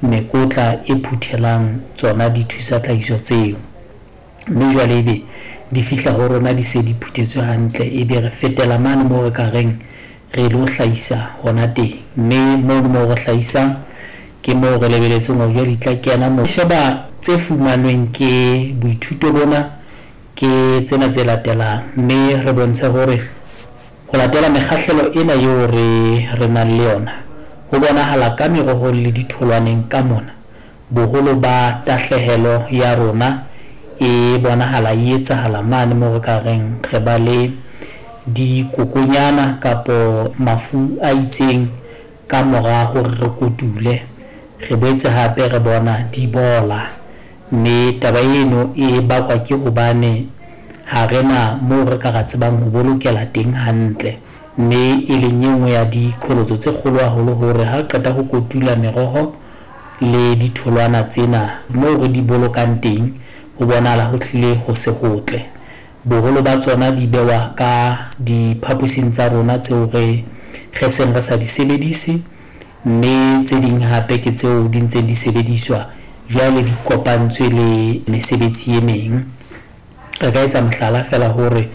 mekotla e phuthelang tsona dithusatlhahiso tseo. Mme jwale ebe di fihla ho rona di se di phuthetswe hantle, ebe re fetela mane moo re ka reng re lo hlahisa hona teng. Mme mono moo re hlahisang ke moo re lebeletseng hore jwale di tla kena moo. Sheba tse fumanweng ke boithuto bona ke tsena tse latelang, mme re bontshe hore ho latela mekgahlelo ena eo re nang le yona, ho bonahala ka merohong le ditholwaneng ka mona, boholo ba tahlehelo ya rona e bonahala e etsahala mane moo re ka reng re ba le dikokonyana kapo mafu a itseng ka mora hore re kotule. Re boetse hape re bona di bola, mme taba eno e bakwa ke hobane ha re na moo re ka ra tsebang ho bolokela teng hantle, mme e leng e nngwe ya diqholotso tse kgolo haholo hore ha re qeta ho kotula meroho le ditholwana tsena, moo re di bolokang teng ho bonahala ho hlile ho se hotle. Boholo ba tsona di bewa ka diphaposing tsa rona tseo re seng re sa di sebedise, mme tse ding hape ke tseo di ntseng di sebediswa jwale di kopantswe le mesebetsi e meng. Re ka etsa mohlala feela hore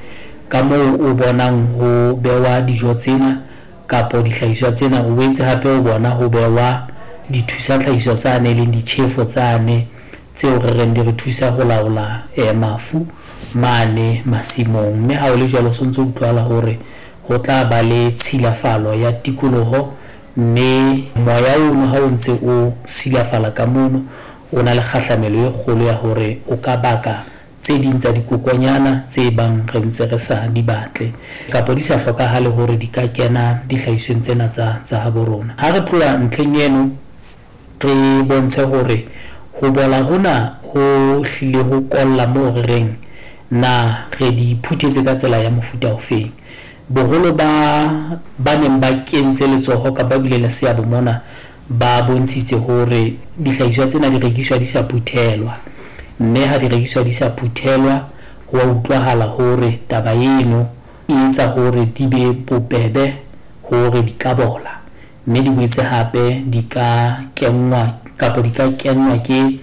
ka moo o bonang ho bewa dijo tsena kapo dihlahiswa tsena, o boetse hape o bona ho bewa dithusatlhahiso tsane, e leng ditjhefo tsane tseo re reng di re thusa ho laola mafu mane masimong. Mme ha o le jwalo, so ntso utlwahala hore ho tla ba le tshilafalo ya tikoloho, mme moya ono ha o ntse o silafala ka mono, o na le kgahlamelo e kgolo ya hore o ka baka tse ding tsa dikokonyana tse bang re ntse re sa di batle kapa di sa hlokahale hore di ka kena dihlahisweng tsena tsa habo rona. Ha re tloha ntlheng eno, re bontshe hore ho bola hona ho hlile ho kolla moo re reng na re di phuthetse ka tsela ya mofuta ofeng. Boholo ba neng ba kentse letsoho kapa ba bile le seabo mona ba bontshitse hore dihlahiswa tsena di rekiswa di sa phuthelwa, mme ha di rekiswa di sa phuthelwa ho a utlwahala hore taba eno e etsa hore di be bobebe hore di ka bola, mme di boetse hape di ka kenngwa kapa di ka kenngwa ke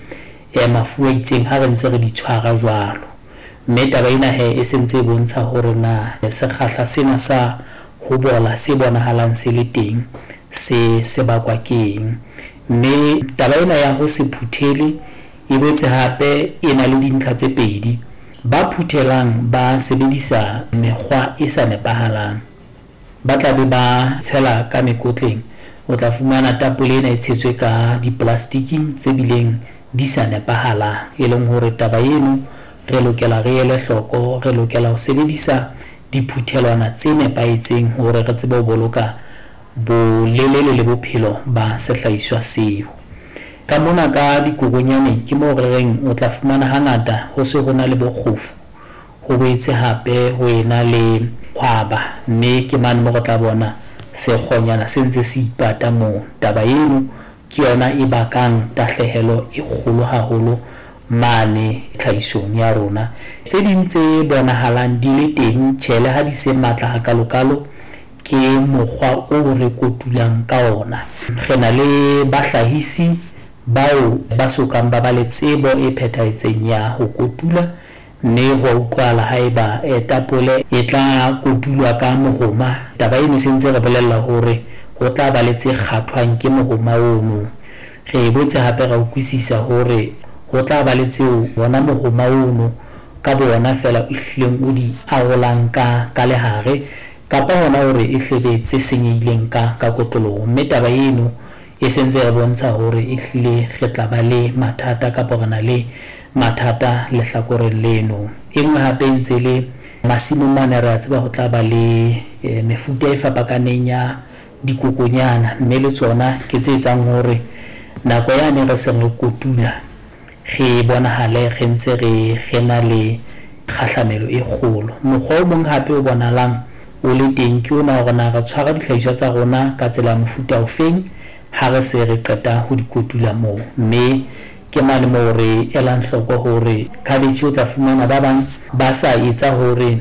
mafu a itseng ha re ntse re di tshwara jwalo. Mme taba ena he e sentse e bontsha hore na sekgahla sena sa ho bola se bonahalang se le teng se bakwa ke eng. Mme taba ena ya ho se phuthele e boetse hape e na le dintlha tse pedi. Ba phuthelang ba sebedisa mekgwa e sa nepahalang, ba tla be ba tshela ka mekotleng, o tla fumana tapole ena e tshetswe ka diplastiking tse bileng di sa nepahalang, e leng hore taba eno re lokela re ele hloko, re lokela ho sebedisa diphuthelwana tse nepahetseng hore re tsebe ho boloka bolelele le bophelo ba sehlahiswa seo. Ka mona ka dikokonyaneng ke moo re reng o tla fumana hangata ho se ho na le bokgofu, ho boetse hape ho ena le hwaba, mme ke mane moo re tla bona sekgonyana se ntse se ipata moo. Taba eno ke yona e bakang tahlehelo e kgolo haholo mane tlhahisong ya rona. Tse ding tse bonahalang di le teng, tjhe, le ha di se matla hakalokalo, ke mokgwa o re kotulang ka ona. Re na le bahlahisi bao ba sokang ba ba le tsebo e phethahetseng ya ho kotula, mme ho a utlwahala haeba tapole e tla kotulwa ka mohoma. Taba eno e sentse re bolella hore ho tla ba le tse kgathwang ke mohoma ono. Re boetse hape ra utlwisisa hore ho tla ba le tseo ona mohoma ono ka bo ona feela o hlileng o di arolang ka lehare, kapa hona hore e hlebe tse senyehileng ka kotloloho. Mme taba eno e sentse re bontsha hore e hlile re tla ba le mathata kapa re na le mathata lehlakoreng leno. E nngwe hape e ntse le masimong mane, re a tseba ho tla ba le mefuta e fapakaneng ya dikokonyana, mme le tsona ke tse etsang hore nako yane re seng re kotula re bonahale re ntse re na le kgahlamelo e kgolo. Mokgwa o mong hape o bonahalang o le teng ke ona hore na re tshwara dihlahiswa tsa rona ka tsela ya mofuta ofeng ha re se re qeta ho di kotula moo. Mme ke mane moo re elang hloko hore cabbage o tla fumana ba bang ba sa etsa hore